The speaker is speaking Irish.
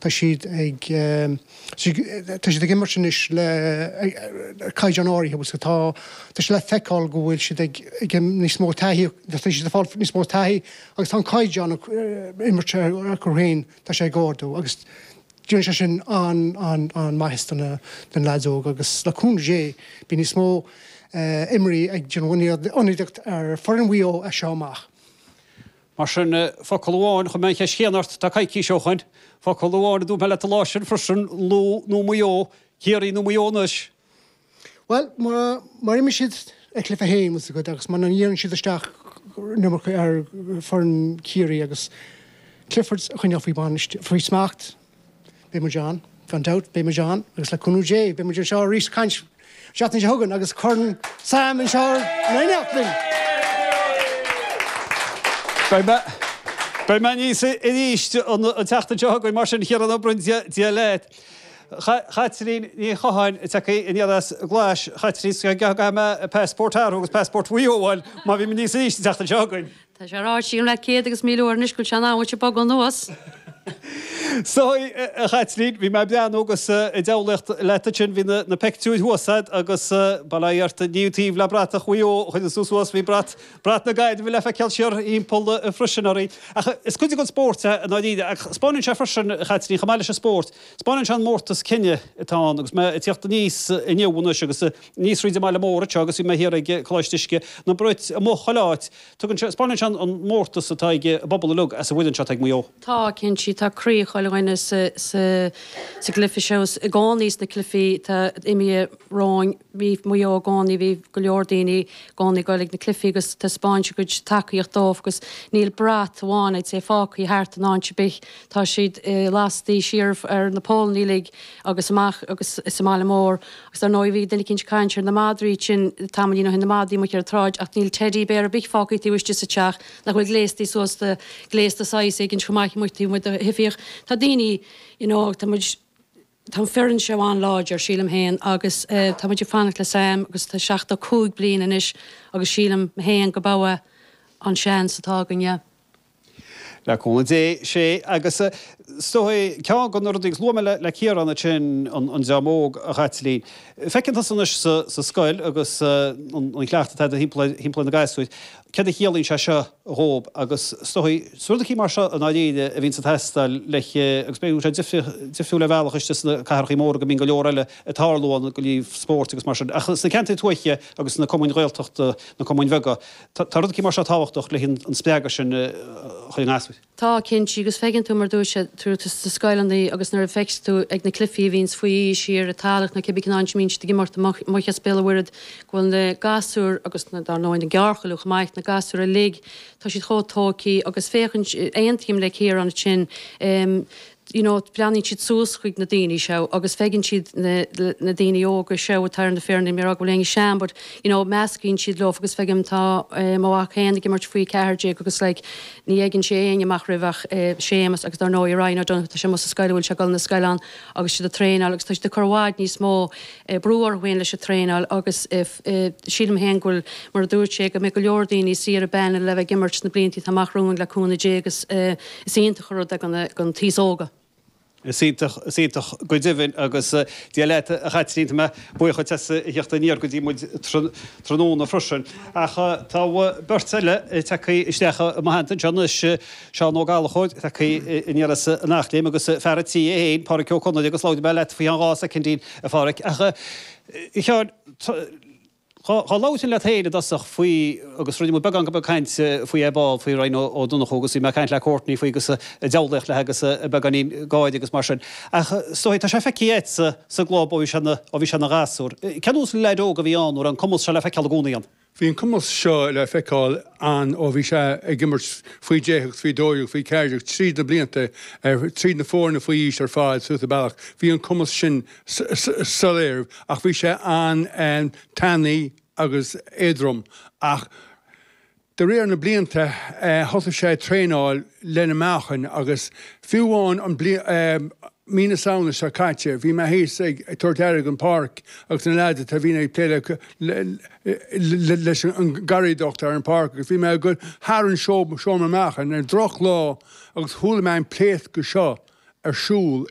Tá siad ag tá siad ag imirt anois le caighdeán áirithe agus tá tá sé le feiceáil go bhfuil siad ag ag níos mó taithí tá siad ag fáil níos mó taithí agus tá an caighdeán imirt acu féin tá sé ag ardú agus déanann sé sin an-an-an-maitheas do na do na leaids óga agus le cúnamh Dé beidh níos mó imreoirí ag déanamh ionadaíocht ar foireann Mhaigh Eo as seo amach. Mar sin, focal amháin, chuir mé an cheist chéanna ort, tá coicís ó shoin. Focal amháin a dúirt mé leat an lá sin freisin, Lú nó Maigh Eo, Ciarraí nó Maigh Eo anois? Bhuel, mura imríonn siad a gcluiche féin, bhfuil 's agat, agus muna ndíríonn siad isteach an iomarca ar foireann Chiarraí agus Cliffords a choinneáil faoi bhainistiú, faoi smacht, beidh muid ann, gan dabht, beidh muid ann agus le cúnamh Dé, beidh muid anseo arís ag caint an tseachtain seo chugainn agus Corn Sam anseo in éineacht linn! Beidh mé, beidh mé aníos arís an tseachtain seo chugainn mar sin, a Chiaráin Ó Broin, Dia leat. Chaitlín Ní Chatháin, tagtha aniar as Glais, Chaitlín, caithfidh mé passport a athrú agus passport Mhaigh Eo a fháil má bhím aníos arís an tseachtain seo chugainn. Tá sé ráite agam leat céad agus 1000 uair anois go bhfuil sé in am duit bogadh anuas. So, a Chaitlín, bhí mé ag breathnú agus ag diabhlaíocht leat ansin, bhí na peictiúir thuas a'd agus bail ó Dhia ort, ní taobh le bratach Mhaigh Eo a chuireann tú suas, bhí brat, brat na Gaillimhe le feiceáil siar thimpeall freisin oraibh. Ach is cuid den spórt é i ndáiríre, ach 'spáineann sé freisin, a Chaitlín, chomh maith leis an spórt, 'spáineann sé an mórtas cine atá ann agus mé ag tíocht aníos inniu anois agus aníos fríd an mbaile mór anseo agus bhí mé thiar ag Coláiste Uisce, na brait amuigh chuile áit, tugann sé, 'spáineann sé an mórtas atá ag an bpobal uilig as an bhfoireann seo atá ag Maigh Eo. Tá, cinnte, tá croí chuile dhuine sa, sa, sa gcluiche seo, i gcónaí sna cluichí atá imithe romhainn, bhí Maigh Eo i gcónaí, bhí go leor daoine i gcónaí ag dul ag na cluichí agus taispeáint a gcuid tacaíocht dóibh agus níl brat amháin, I'd say, fágtha thart in áit ar bith. Tá siad lastaí siar ar na pólannaí uilig agus amach agus sa mbaile mór. Agus dar ndóigh bhí duine eicínt ag caint ar na madraí sin tamaillín ó shin, na madraí amuigh ar an tsráid ach níl teddy bear ar bith fágtha taobh istigh sa teach nach bhfuil gléastaí suas de ghléas de saghas éigin chomh maith amuigh taobh amuigh de thithe. Tá daoine you know tá muid tá an foireann seo an-láidir sílim féin agus tá muid ag fanacht le Sam agus tá 75 bliain anois agus sílim féin go b'é an seans atá againn yeah. Le cúnamh Dé, sé, agus is dóigh, ceann de na rudaí, agus luaigh mé le Ciarán ansin an dream óg, a Chaitlín. Feiceann tusa anois sa scoil agus an cleachtadh atá agat thimpeall ar na gasúir, céard a chiallaíonn sé seo dhóibh agus is dóigh, is rudaí mar seo i ndáiríre a bhíonns ag teastáil le, agus bíonn sé difriúil ar bhealach istigh sna cathrachaí móra go mbíonn go leor eile ag tarlú ann, go leor spóirt agus mar sin, ach sna ceantair tuaithe agus sna cumainn Ghaeltachta, na cumainn bheaga, Tá rudaí mar seo tábhachtach le an spreagadh sin a chur i ngasúir. Tá, cinnte, agus feiceann tú mar dúirt sé, tú sna scoileanna agus nuair a feiceann tú ag na cluichí a bhíonns faoi aois thiar i Tallaght nó cibé cén áit a mbíonn siad ag imeacht amuigh as Béal an Mhuirthead go bhfuil na gasúir agus na, dar ndóigh na gearrchailí chomh maith, na gasúir uilig, tá siad chomh tógthaí agus féachann, aontaím le Ciarán ansin, you know, breathnaíonn siad suas chuig na daoine seo agus feiceann siad na, na daoine óga seo atá ar na foirne, ní rá go bhfuil éinne sean but, you know, meascaíonn siad leo agus feicim tá eh, mo mhac féin ag imirt faoi 14 agus like, ní fheiceann sé éinne amach roimh ach eh, Séamus agus dar ndóigh Ryan O'Donoghue, tá sé amuigh sa scoil, a bhfuil sé ag dul na scoile ann agus siad ag traenáil agus tá siad ag cur i bhfad níos mó eh, brú orthu féin leis an traenáil agus eh, eh, sílim féin go bhfuil, mar a dúirt sé, go mbeidh go leor daoine saor ar bun le bheith ag imirt sna blianta atá amach romhainn le cúnamh Dé agus eh, Is iontach an rud é don t-aos óga. Is iontach, is iontach go deimhin agus Dia leat a Chaitlín, tá mé buíoch dhuit as a theacht aniar go dtí muid tráthnóna freisin. Ach tá beirt eile tagtha isteach i mo theannta anseo anois, Seán Ó Gallchóir tagtha aniar as an Eachléim agus fear an tí é féin, Páraic Ó Conaire agus labhróidh mé leat faoi cheann 2 soicindín a Pháraic. Ach a Sheáin, Dhá labhróinn leat féin i dtosach faoi, agus rinne muid beagán beag cainte faoi ar ball, faoi Ryan Ó Donnchú agus bhí mé ag caint le Courtney faoi agus ag diabhlaíocht léi agus beagáinín gáire agus mar sin. Ach is dóigh, tá sé feicthe agatsa sa gclub ó bhí sé ó bhí sé ina ghasúr. Cén nós leaid óg a bhí ann, an raibh an cumas seo le feiceáil i gcónaí ann? Bhí an cumas seo le feiceáil ann ó bhí sé ag imirt faoi 10 agus faoi 12, faoi 14, tríd na blianta, tríd na foirne faoi aois ar fad suas an bealach. Bhí an cumas sin soiléir ach bhí sé an-tanaí agus éadrom ach de réir na blianta thosaigh sé ag traenáil lena meáchain agus fiú amháin an bliain mí na Samhna seo caite bhí mé thíos ag tabhairt aire don pháirc agus na leaids atá bhíonn ag plé le leis an garraíodóireacht ar an pháirc agus bhí mé ag dul thar an seomra meáchain ar drochlá agus chuala mé an pléascadh seo ar siúl.